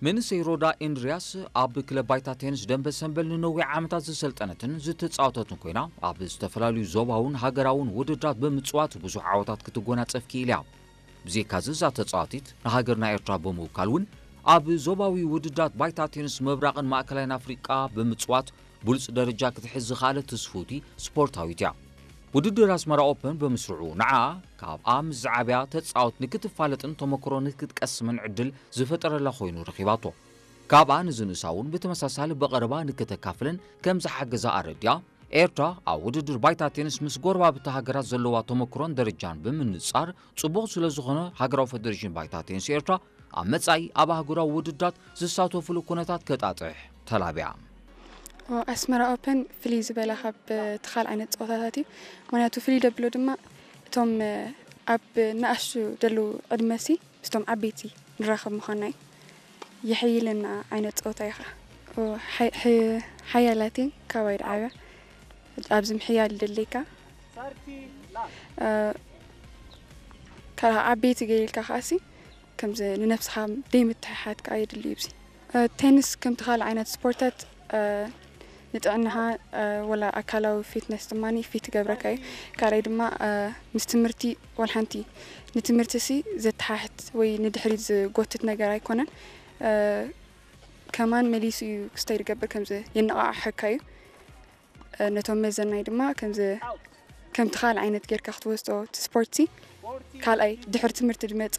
መንእሰይ ሮዳ ኤንድርያስ ኣብ ክለብ ባይታ ቴኒስ ደንበ ሰንበል ንነዊሕ ዓመታት ዝሰልጠነትን ዝተጻወተትን ኮይና፣ ኣብ ዝተፈላለዩ ዞባውን ሃገራውን ውድድራት ብምጽዋት ብዙሕ ዓወታት ክትጎናጸፍ ክኢል እያ። ብዘይካዚ እዛ ተጻዋቲት ንሃገርና ኤርትራ ብምውካል እውን ኣብ ዞባዊ ውድድራት ባይታ ቴኒስ ምብራቕን ማእከላይን ኣፍሪቃ ብምጽዋት ብሉጽ ደረጃ ክትሕዝ ዝኸኣለት ትስፍውቲ ስፖርታዊት እያ። ውድድር ኣስመራ ኦፐን ብምስርዑ ንዓ ካብኣ ምስ ዝዓብያ ተጻወት ንክትፋለጥን ተመክሮ ንክትቀስምን ዕድል ዝፈጠረላ ኮይኑ ረኺባቶ። ካብኣ ንዝንእሳ እውን ብተመሳሳሊ ብቐረባ ንክተካፍልን ከም ዝሓገዛ ኣረዲኣ፣ ኤርትራ ኣብ ውድድር ባይታ ቴኒስ ምስ ጎረባብቲ ሃገራት ዘለዋ ተመክሮን ደረጃን ብምንጻር ጽቡቕ ስለ ዝኾነ፣ ሃገራዊ ፈደሬሽን ባይታ ቴኒስ ኤርትራ ኣብ መጻኢ ኣብ ኣህጉራዊ ውድድራት ዝሳተፉሉ ኩነታት ከጣጥሕ ተላብያ። ኣስመራ ኦፐን ፍልይ ዝበለ ካብ እቲ ካልእ ዓይነት ፀወታታት እዩ። ምክንያቱ ፍልይ ደብሎ ድማ እቶም ኣብ ንኣሽቱ ዘለዉ ዕድመሲ ምስቶም ዓበይቲ ንራኸብ ምዃንና እዩ። የሐይለና ዓይነት ፀወታ እዩ ከዓ። ሓያላት እየን ካባይ ድዓብያ። ኣብዚ ምሕያል ደለይካ ካልኣ ዓበይቲ ገይልካ ከዓሲ ከምዚ ንነብስኻ ደይ ምትሕሓድ ከዓ የድሊ እዩ። ቴኒስ ከምቲ ካልእ ዓይነት ስፖርታት ንጥዕናኻ ወላ ኣካላዊ ፊትነስ ድማ ፊት ይገብረካ እዩ። ካልኣይ ድማ ምስ ትምህርቲ ዋላ ሓንቲ ንትምህርቲ ሲ ዘተሓሕት ወይ ንድሕሪት ዝጎትት ነገር ኣይኮነን። ከማን መሊሱ እዩ ክስተይ ዝገብር ከምዚ የነቓቕሐካ እዩ። ነቶም መዘናይ ድማ ከምዚ ከምቲ ካልእ ዓይነት ጌርካ ክትወስዶ እቲ ስፖርት ሲ ካልኣይ ድሕሪ ትምህርቲ ዝመጽእ